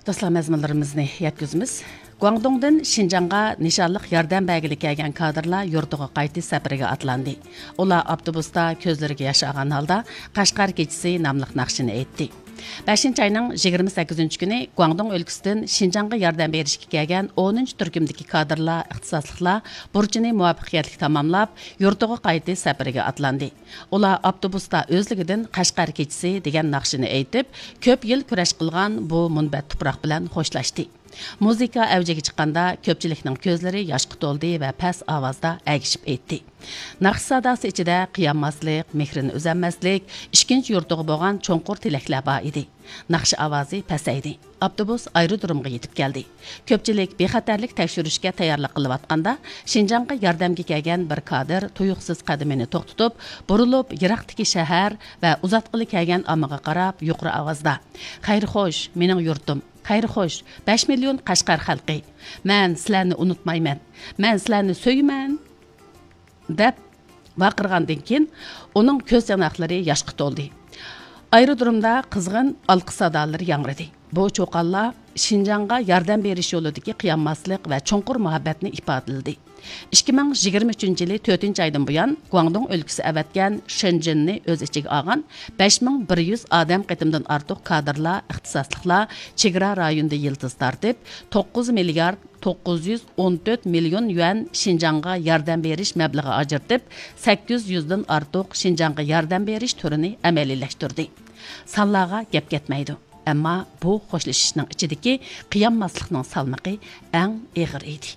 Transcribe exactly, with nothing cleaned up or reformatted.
دوستلار، مەزمۇنلىرىمىزنى يەتكۈزىمىز. گۇاڭدۇڭدىن شىنجاڭغا نىشانلىق ياردەم بەرگىلى كەلگەن كادىرلار يۇرتىغا قايتىش سەپىرىگە ئاتلاندى. ئۇلار ئاپتوبۇستا كۆزلىرىگە ياش ئالغان ھالدا قەشقەر كېچىسى ناملىق ناخشىنى ئېيتتى. بەشىنچى ئاينىڭ يىگىرمە سەككىزىنچى كۈنى گۇاڭدۇڭ ئۆلكىسىدىن شىنجاڭغا ياردەم بېرىشكە كەلگەن ئونىنچى تۈركۈمدىكى كادىرلار، ئىختىساسلىقلار بۇرچىنى مۇۋەپپەقىيەتلىك تاماملاپ، يۇرتىغا قايتىش سەپىرىگە ئاتلاندى. ئۇلار ئاپتوبۇستا ئۆزلۈكىدىن قەشقەر كېچىسى دېگەن ناخشىنى ئېيتىپ، كۆپ يىل كۈرەش قىلغان بۇ مۇنبەت تۇپراق بىلەن خوشلاشتى. مۇزىكا ئەۋجىگە چىققاندا، كۆپچىلىكنىڭ كۆزلىرى ياشقا تولدى ۋە پەس ئاۋازدا ئەگىشىپ ئېيتتى. ناخشا ساداسى ئىچىدە قىيانماسلىق، مېھرىنى ئۈزەلمەسلىك، ئىككىنچى يۇرتىغا بولغان چوڭقۇر تىلەكلەر بار ئىدى. ناخشا ئاۋازى پەسەيدى. ئاپتوبۇس ئايرودرومغا يېتىپ كەلدى. كۆپچىلىك بىخەتەرلىك تەكشۈرۈشكە تەييارلىق قىلىۋاتقاندا، شىنجاڭغا ياردەمگە كەلگەن بىر كادىر تۇيۇقسىز قەدىمىنى توختىتىپ، بۇرۇلۇپ، يىراقتىكى شەھەر ۋە ئۇزاتقىلى كەلگەن ئاممىغا قاراپ يۇقىرى ئاۋازدا، «خەير خوش، مېنىڭ يۇرتۇم! خەير خوش، بەش مىليون قەشقەر خەلقى! مەن سىلەرنى ئۇنتۇمايمەن! مەن سىلەرنى سۆيىمەن!» دەپ ۋارقىرىغاندىن كېيىن، ئۇنىڭ كۆز ياناقلىرى ياشقا تولدى. ئايرودرومدا قىزغىن ئالقىش سادالىرى ياڭرىدى. بۇ چۇقانلار شىنجاڭغا ياردەم بېرىش يولىدىكى قىيانماسلىق ۋە چوڭقۇر مۇھەببەتنى ئىپادىلىدى. ئىككى مىڭ يىگىرمە ئۈچىنچى يىلى تۆتىنچى ئايدىن بۇيان، گۇاڭدۇڭ ئۆلكىسى ئەۋەتكەن شېنجېننى ئۆز ئىچىگە ئالغان بەش مىڭ بىر يۈز ئادەم قېتىمدىن ئارتۇق كادىرلار، ئىختىساسلىقلار چېگرا رايونىدا يىلتىز تارتىپ، توققۇز مىليارد توققۇز يۈز ئون تۆت مىليون يۈەن شىنجاڭغا ياردەم بېرىش مەبلىغى ئاجرىتىپ، سەككىز يۈزدىن ئارتۇق شىنجاڭغا ياردەم بېرىش تۈرىنى ئەمەلىيلەشتۈردى. سانلارغا گەپ كەتمەيدۇ، ئەمما بۇ خوشلىشىشنىڭ ئىچىدىكى قىيانماسلىقنىڭ سالمىقى ئەڭ ئېغىر ئىدى.